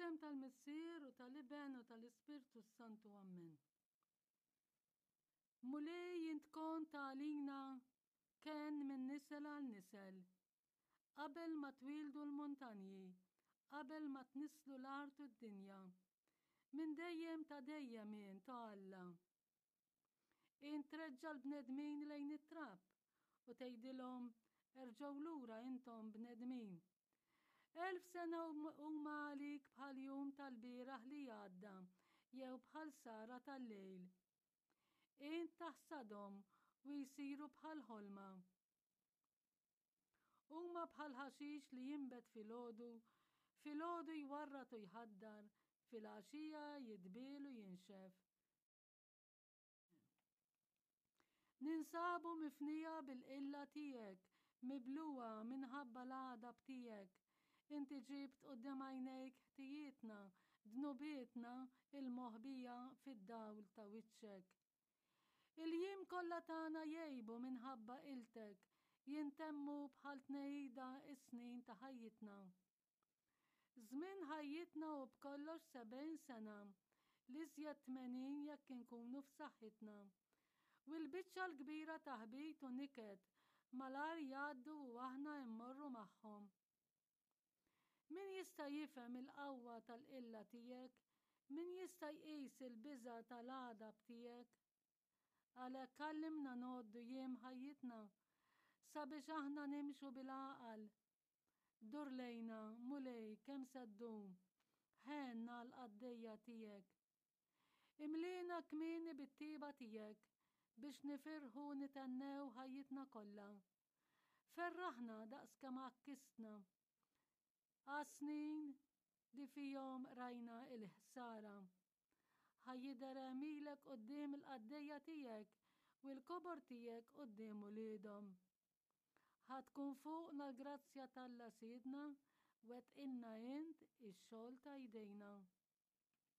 Fl-isem tal-Missier u tal-Iben u tal-Ispirtu s-Santu Ammen. Mulej int kont għalina kenn minn nisel għal nisel. Qabel ma twieldu l-muntanji, qabel ma tnisslu l-art u d-dinja. Minn dejjem ta' dejjem int, o Alla. Int treġġa' l-bnedmin lejn it-trab u tgħidilhom, Erġgħu lura intom bnedmin. 1000 sena huma għalik bħal jum tal-bieraħ li għadda jew bħal sara tal-lejl. Int taħsadhom u jsiru bħal ħolma. Huma bħal ħaxix li jinbet filgħodu, filgħodu jwarrad u jħaddar, filgħaxija jidbiel u jinxef. Ninsabu mifnija bil-qilla tiegħek, miblugħa minħabba l-għadab tiegħek. Inti ġibt quddiem għajnejk ħtijietna, dnubietna il-moħbija fid-dawl ta' wiċċek. Il-jiem kollha tagħna jgħibu minħabba qiltek, jintemmu bħal tnehida s-snin ta' ħajjitna. Żmien ħajjitna hu b'kollox 70 sena, l-iżjed 80 jekk inkunu f'saħħitna. U l-biċċa l-kbira taħbit u niket malajr jgħaddu u aħna immorru magħhom. Min jista' jifhem il-qawwa tal-qilla tiegħek? Min jista' jqis il-biża' tal-għadab tiegħek? Għalhekk għallimna ngħoddu jiem ħajjitna, sabiex aħna nimxu bil-għaqal. Dur lejna, Mulej, kemm se ddum? Ħenn għall-qaddejja tiegħek. Imliena kmieni bit-tieba tiegħek biex nifirħu u nithennew ħajjitna kollha. Ferraħna daqs kemm għakkistna għas-snin li fihom rajna l-ħsara. Ħa jidher għemilek quddiem il-qaddejja tiegħek u l-kobor tiegħek quddiem uliedhom. Ħa tkun fuqna l-grazzja t'Alla Sidna, wettqilna int ix-xogħol ta' jdejna.